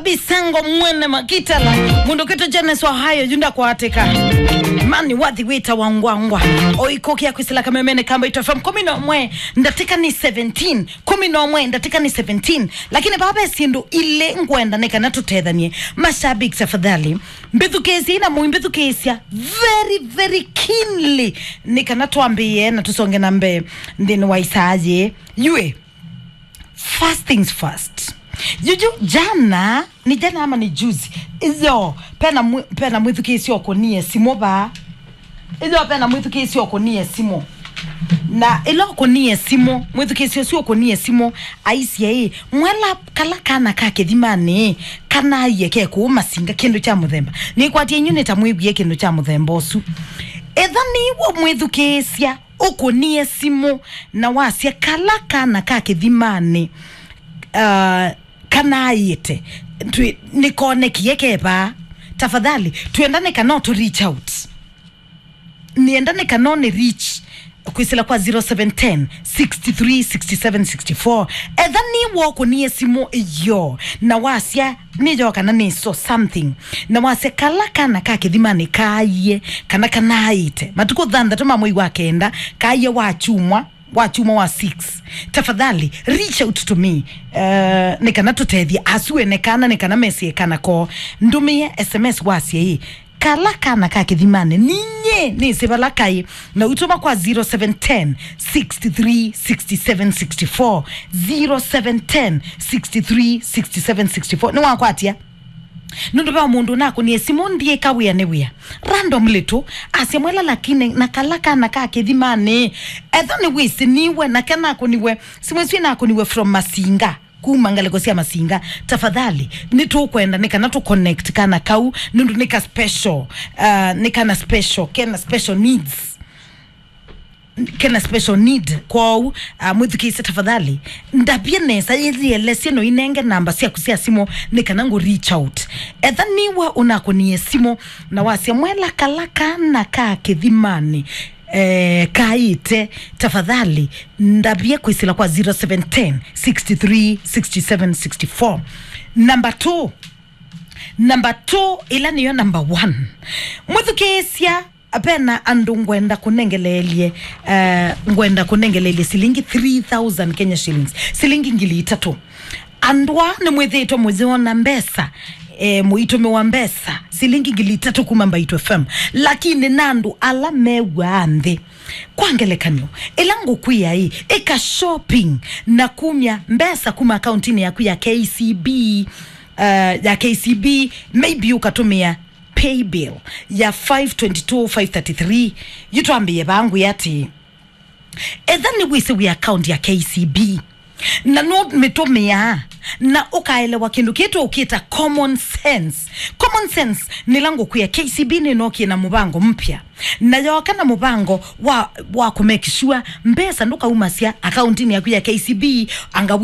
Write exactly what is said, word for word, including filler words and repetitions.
Bisango mwene makitala, mũndũ kwĩtwa Jones wa Ohio, yu ndakwatika. Mani wathi wĩtawa ngwangwa. Oikũkĩa kwĩsĩla kamemene ka Mbaitu F M kũmi na ũmwe ndatĩka nĩ seventeen. Kũmi na ũmwe ndatĩka nĩ seventeen. Lakini vaa ve syĩndũ ilĩ ngwenda nĩ kana tũtethanie. Mashabiki, tafadhali, mbĩthukĩĩsyai na mũimbĩthukĩĩsya very, very keenly nĩ kana twambĩĩe na tũsonge na mbee nthĩnĩ wa isaa yĩĩ. Yue, first things first. Yuyu, jana, ni jana ama ni juzi? Iyo, pena mwi-, pena mwĩthukĩĩsya ũkũnie simũ vaa. Iyo, pena mwĩthukĩĩsya ũkũnie simũ. Na ĩla ũkũnie simũ, mwĩthukĩĩsya ũsu ũkũnie simũ, aisye ĩ, "Mwela kala kana ka kĩthimanĩ, kanaie ke kũu Masinga kĩndũ kya mũthemba." Nĩkwatie inyu nĩ ta mwĩwie kĩndũ kya mũthemba ũsu. Etha nĩw'o mwĩthukĩĩsya ũkũnie simũ na wasya kala kana ka kĩthimanĩ, uh, kanaĩte, twĩ-, nĩkonekie kevaa, tafadhali, twenda nĩ kana ũtũ reach out. Nĩenda nĩ kana ũnĩ reach kwĩsĩla kwa zero seven ten, six three, six seven, six four. Etha nĩw'o ũkũnie simũ iyo na wasya nĩyo kana nĩ so something. Na wasya kala kana ka kĩthimanĩ kaaie, kana kanaĩte matukũ thanthatũ ma mwei wa kenda, kaaie wa kyumwa, wa kyumwa wa six. Tafadhali, reach out to me, uh, nĩ kana tũtethye asu ene kana, nĩ kana mesie kana koo. Ndũmĩe S M S wasye ĩ, "Kala kana ka kĩthimanĩ, ninyie nĩsĩ vala kaĩ." Na ũitũma kwa zero seven ten, six three, six seven, six four, zero seven ten, six three, six seven, six four. Nĩwakwatya? Nũndũ ve mũndũ ũnakũnie simũ, ndiĩka wĩa nĩ wĩa. Randomly tu, asya, "Mwela, lakini na kala kana ka kĩthimanĩ." Etha nĩwĩsĩ nĩwe, nake nakũniwe, simũ ĩsu ĩnakũniwe from Masinga, kuma ngalĩko sya Masinga. Tafadhali, nĩtũkwenda nĩ kana tũ connect kana kau, nũndũ nĩ ka special, uh, nĩ kana special, kena special needs. Kena special need. Kwoou, ah, mwĩthukĩĩsye tafadhali. Ndavye nesa, yĩelesye no inenge namba syaku sya simũ nĩ kana ngũ reach out. Etha nĩwe ũnakũnie simũ na wasya, "Mwela, kala kana ka kĩthimanĩ, eh, kaĩte, tafadhali, ndavye kwĩsĩla kwa zero seven ten, six three, six seven, six four." Number two. Number two, ĩla nĩyo number one. Mwĩthukĩĩsya, vena andũ ngwenda kũnengeleelye, eh, ngwenda kũnengeleelye silingi three thousand Kenya shillings, silingi ngili itatũ. Andũ aa nĩmwĩthĩĩtwe mũyona mbesa, eh, mũitũmĩwa mbesa, silingi ngili itatũ kuma Mbaitu F M. Lakini na andũ ala mew'aa nthĩ. Kwa ngelekany'o, ĩla ngũkwĩa ĩ, ĩka shopping na kumya mbesa kuma akauntinĩ yaku ya K C B, eh, ya K C B, maybe ũkatũmĩa pay bill ya five twenty-two, five thirty-three. Yu twambĩĩe vaa, ngwĩa atĩĩ, etha nĩwĩsĩ wĩ account ya K C B na nũmĩtũmĩaa, na ũkaelewa kĩndũ kĩĩ tũũkĩta common sense. Common sense nĩla ngũkwĩa, K C B nĩnookie na mũvango mpya, na yooka na mũvango wa, wa kũ make sure mbesa ndũkaumasya akauntinĩ yaku ya K C B anga